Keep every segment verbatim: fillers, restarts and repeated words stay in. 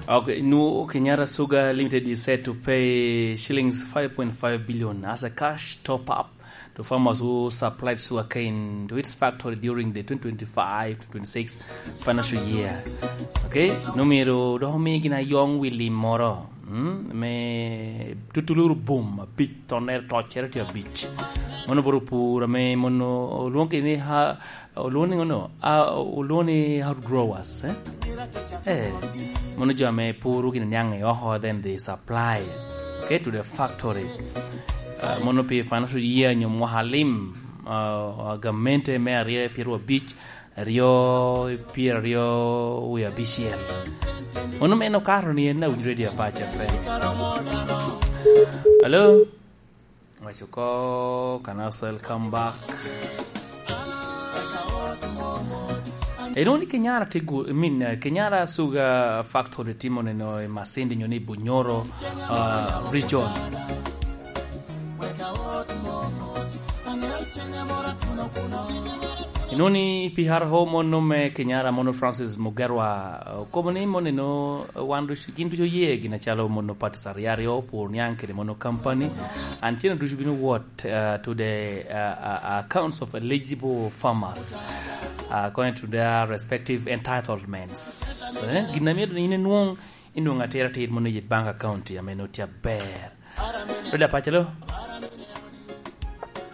Okay, nu Kenyatta Sugar Limited is set to pay shillings five point five billion as a cash top up to farmers who supplied sugarcane to its factory during the twenty twenty-five to twenty-six financial year. Okay, nu myero dok omi gin ayong wi lim moro, mm, me tutuluru bum abic, tonere tocere tye abic. Mono boro pur ame mono olwongi ni ha, olwongo ni ngono? Ah, olwongo ni outgrowers, eh? Eh, mono jo ame puro gin niaŋ i oko, then they supply, okay, to the factory. Ah, mono pi financial year nyo mwaka lim, ah, gamente me aryo pyeraryo abic, aryo pyeraryo wie abicel. Mono meno kato ni en awinyo Radio Apac F M. Hello? Waco ko, can as well come back. Eno ni Kenyara tye gu-, I mean, uh, Kenyara Sugar Factory timo neno i Masindi nyo ni Bunyoro, uh, region. Eno ni P R O mono me Kenyara mono Francis Mugerwa, uh, okobo ni mono eno, uh, wan duc-, gin ducu oye gin acalo mono parties aryo aryo, pur niaŋ kede mono company. And tyen ducu bino wot, uh, to the, uh, uh, accounts of eligible farmers, uh, according to their respective entitlements. Eh, gin amiyo in inwong, inwong atira tir mono i bank account ame no tye aber. Reda Pacelo?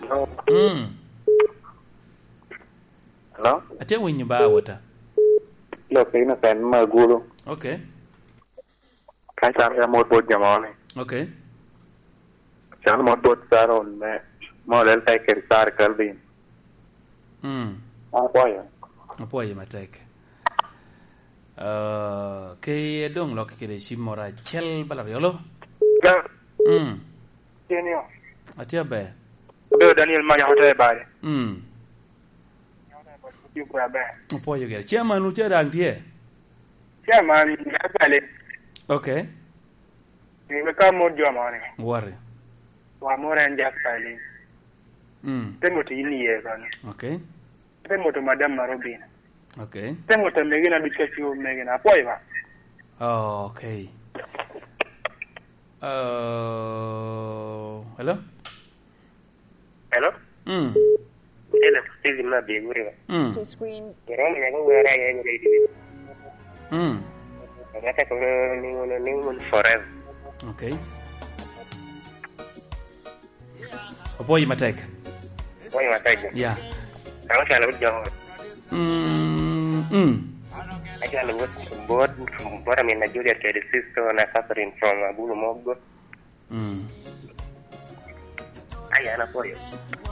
Hello? Mm. Hello? Atye winyo ba, wota. Look, in a pen magulu. Okay. Ka caro ya mot bot jo moni. Okay. Caro mot bot Saron me, mo lel ka ikeri Sar Calvin. Mm. Apwoyo. Apwoyo matek. Uh, ke doŋ lok kede cim moro acel bala ryolo. Ga. Mm. Tye ni o. Atye aber. Obedo Daniel Manya Hotel Bari. Mm. Opwoyo gire. Chairman, nu ca daŋ tye? Chairman, me Bali. Okay. Ni me ka mot jo moni. Wari. Wa mot en Jasper Elin. Mm. Te mot in iye koni. Okay. Te mot madam Marobina. Okay. Te mot megina duc ka ciwo megina. Apwoyo ba. Oh, okay. Uh, hello? Hello? Mm. Hello, Steven ma Biguri. Mm. Iromo nyaka wera ya radio. Mm. Ngata ko ni, ni, ni forever. Okay. Opwoyo matek. Opwoyo matek. Yeah. Kama calo jo. Mm, mm. Acalo bot, bot, bot amin na Juliet kede sister na Catherine from Abulu Mogo. Mm. Ai, an apwoyo.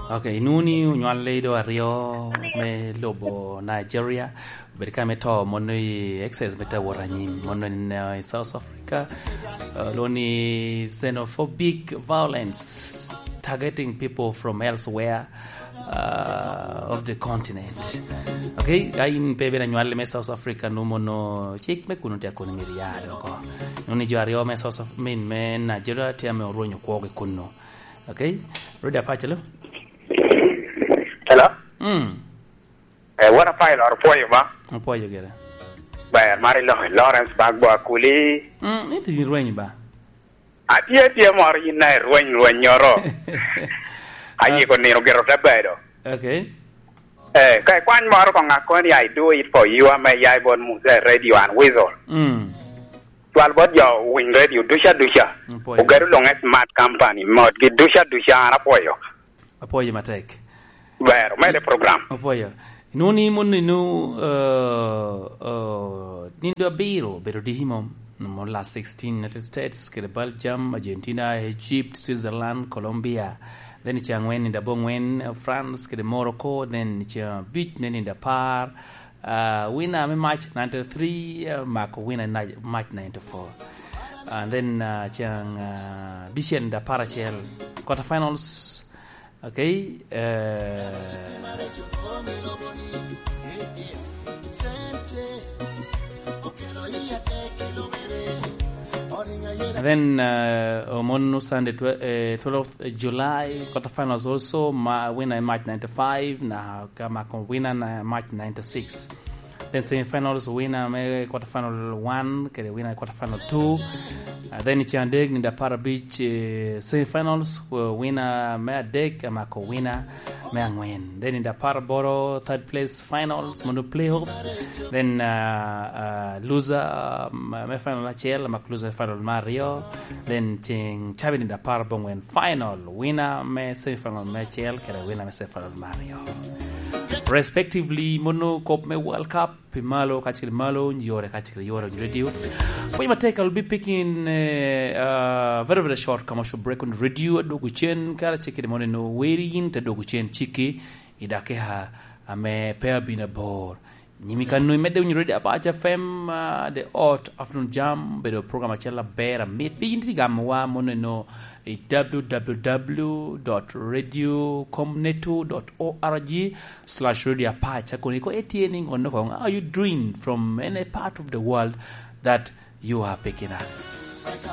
Okay, inwoŋo ni onywalli do aryo me lobo Nigeria, obedo ka me to mono i excess me tawot anyim, mono i, uh, i South Africa, uh, lwongo ni xenophobic violence targeting people from elsewhere, uh, of the continent. Okay, ka in pe ibedo anywalli me South Africa, nu mono cik me kuno tye kono myero ya dok oko. Nuni jo aryo me South Af-, min me Nigeria tye ame orwenyo kwogi kuno. Okay? Rudi Apac, hello? Hello? Mm. Eh, what a pilot, pwoyo ba? Apwoyo gire. Ber, mari lo-, Lawrence Bagbo Akuli. Mm, ito ni rwenyo ba? Atye, tye moro yin na irweny rwennyoro. Ayiko nino gire te bedo. Okay. Eh, ka ikwany moro ko ŋak koni, I do it for you, ame ya i bot Musa Radio and Whistle. Mm. Cwal bot jo winy radio duca duca. Apwoyo. Ogedo luŋe smart company, mot gi duca duca, an apwoyo. Apwoyo matek. Ber, omede program. Apwoyo. Inwoŋo ni mon inu, uh, uh, nindo abiro obedo diki mom. Mo last sixteen, United States, kede Belgium, Argentina, Egypt, Switzerland, Colombia. Then ice angwen, nindo aboŋwen, uh, France, kede Morocco. Then ice abic, ne nindo apar. Uh, winner me March ninety-three, uh, mako winner na-, March ninety-four. And then, uh, ice, uh, abicel, nindo apar acel. Quarterfinals, okay, eh, and then, uh, omon Sunday, twe-, eh, twelfth July, quarterfinals also, ma, winner in March ninety-five, na ka mako winner na March ninety-six. Then semifinals, winner me quarter final one kede winner quarter final two. Uh, then i cen adek, nino apar abic, eh, semifinals, uh, winner me adek amako winner me angwen. Then nino apar aboro, third place finals, mono playoffs. Then uh, uh, loser, um, me final acel amako loser final me aryo. Then ceng cabi nino apar abongwen final, winner me semifinal me acel kede winner me semifinal me aryo, respectively. Mono kop me World Cup pi malo kacel malo, yore kacel yore on radio. Pwony matek, I'll be picking uh, uh, very, very short commercial break on radio. Adwogo cen kara cek kede mono eno weri yin te dwogo cen ciki i dakika ame pe abino abor. Nyimi kano imedde winyo Radio Apac F M, uh, the Hot Afternoon Jam, bedo program acel aber amit. Pi yin ti gamowa mono eno i w w w dot radio comneto dot org slash radio apac. Akoni ko etye ni ngono kong, are you doing from any part of the world that you are picking us?